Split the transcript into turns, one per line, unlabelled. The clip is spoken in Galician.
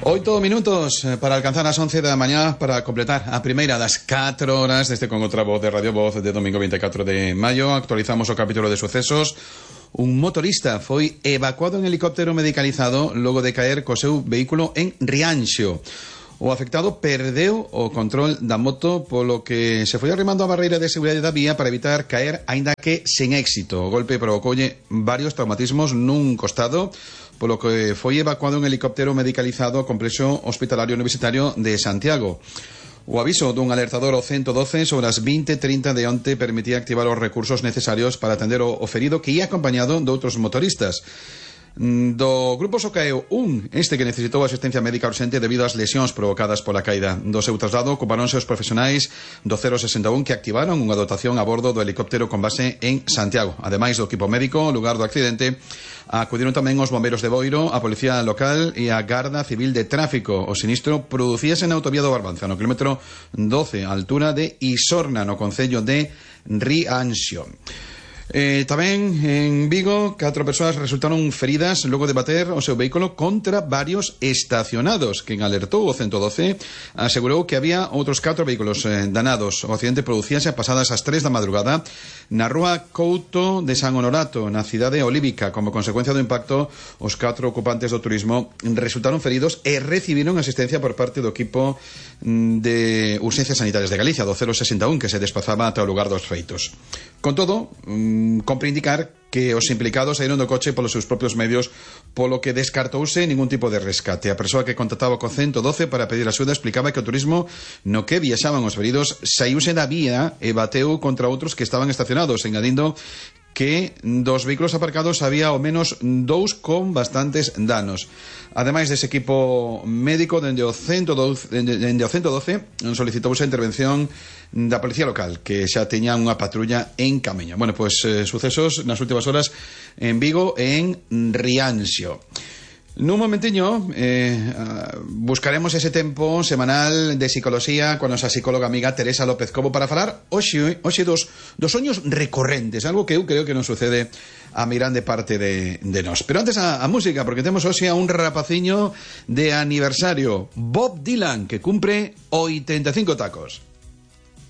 8 minutos para alcanzar las 11 da mañá para completar a primeira das 4 horas deste con outra voz de Radio Voz de domingo 24 de maio. Actualizamos o capítulo de sucesos. Un motorista foi evacuado en helicóptero medicalizado logo de caer co seu vehículo en Rianxo. O afectado perdeu o control da moto, polo que se foi arrimando a barreira de seguridade da vía para evitar caer, aínda que sen éxito. O golpe provocoulle varios traumatismos nun costado, polo que foi evacuado en helicóptero medicalizado ao complexo hospitalario universitario de Santiago. O aviso dun alertador ao 112 sobre as 20:30 de onte permitía activar os recursos necesarios para atender o ferido que ia acompañado de outros motoristas. Do grupo só caeu este que necesitou asistencia médica urxente debido ás lesións provocadas pola caída. Do seu traslado ocuparonse os profesionais do 061 que activaron unha dotación a bordo do helicóptero con base en Santiago. Ademais do equipo médico, ao lugar do accidente, acudiron tamén os bombeiros de Boiro, a policía local e a Garda Civil de Tráfico. O sinistro producíase na autovía do Barbanza, no kilómetro 12, a altura de Isorna, no concello de Rianxo. Tamén en Vigo 4 persoas resultaron feridas logo de bater o seu vehículo contra varios estacionados. Quen alertou o 112 asegurou que había outros 4 vehículos danados. O accidente producíase a pasadas as 3 da madrugada na rúa Couto de San Honorato, na cidade olívica. Como consecuencia do impacto, os 4 ocupantes do turismo resultaron feridos e recibiron asistencia por parte do equipo de urxencias sanitarias de Galicia, do 061, que se desplazaba ata o lugar dos feitos. Con todo, compre indicar que os implicados saíron do coche polos seus propios medios, polo que descartouse ningún tipo de rescate. A persoa que contactaba co 112 para pedir axuda explicaba que o turismo no que viaxaban os feridos saíuse da vía e bateu contra outros que estaban estacionados, engadindo que dos vehículos aparcados había ao menos 2 con bastantes danos. Ademais dese equipo médico, dende o 112 solicitouse a intervención da policía local, que xa teña unha patrulla en camiño. Bueno, pois sucesos nas últimas horas en Vigo e en Rianxo. Nun momentiño buscaremos ese tempo semanal de psicoloxía con a nosa psicóloga amiga Teresa López Cobo para falar hoxe dos soños recorrentes, algo que eu creo que non sucede a mirande parte de nós. Pero antes a música, porque temos hoxe a un rapaciño de aniversario, Bob Dylan, que cumpre 85 tacos.